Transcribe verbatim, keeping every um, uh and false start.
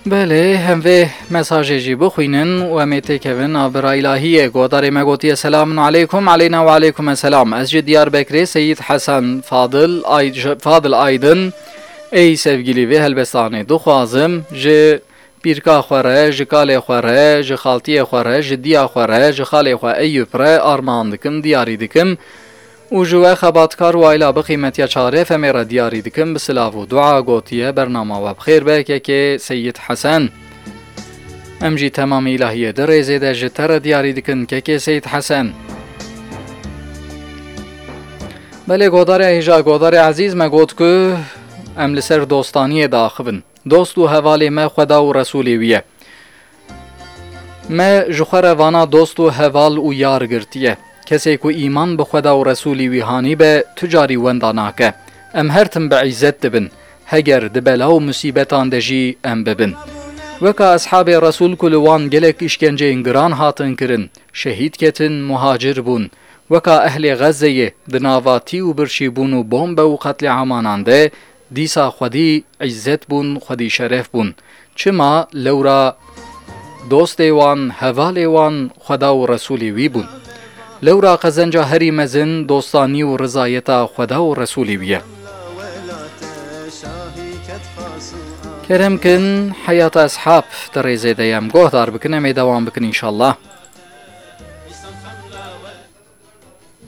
Belê, em vê mesajê jî bixwînin û em ê têkevin a bira îlahiyê. Godarê me gotiye, "Selamun aleykum." "Aleyna ve aleykum selam. Ez ji Diyarbekirê Seyîd Hesen Fadil Ay-, Fadil Aydin. Ey sevgilî vê helbestanê dixwazim ji pîrka xwe re, ji kalê xwe re, ji xaltiyê xwe re, ji diya xwe re, ji xalê xwe Eyûp re armağan dikim, diyarî dikim." Û ji we xebatkar û ayla bi qîmetiya çar F M'ê re diyarî dikim, bi silav û dua gotiye, "Bernama we bi xêr be, kekê Seyîd Hesen." Em jî temamê îlahiyê di rêzê de ji te re diyarî dikin, kekê Seyîd Hesen. Belê, godarê hêja, godarê ezîz me got ku em li ser dostaniyê diaxivin. Dost û hevalê me Xweda û Resûlê wî ye. Me ji xwe re vana dost û heval û yar girtiye. Kesê ku îman bi Xweda û Resûlî wî hanî be, tu carî wenda nake. Em her tim bi îzzet dibin. Heger di bela û musîbetan de jî em bibin. Weka eshabê Resûl ku li wan gelek îşkenceyên giran hatin kirin, şehîd ketin, muhacir bûn. Weka ehlê Xezzeyê di nava tî û birçî bûn û bombe û qetlîamanan de, dîsa xwedî îzzet bûn, xwedî şeref bûn. Çima? Lewra dostê wan, hevalê wan Xweda û Resûlê wî bûn. Lewra qezenca herî mezin dostanî û rizayeta Xweda û Resûlê wî ye. Kerem kin, heyata eshab di rêzê de ye. Em gohdar bikin, em ê dewam bikin înşallah.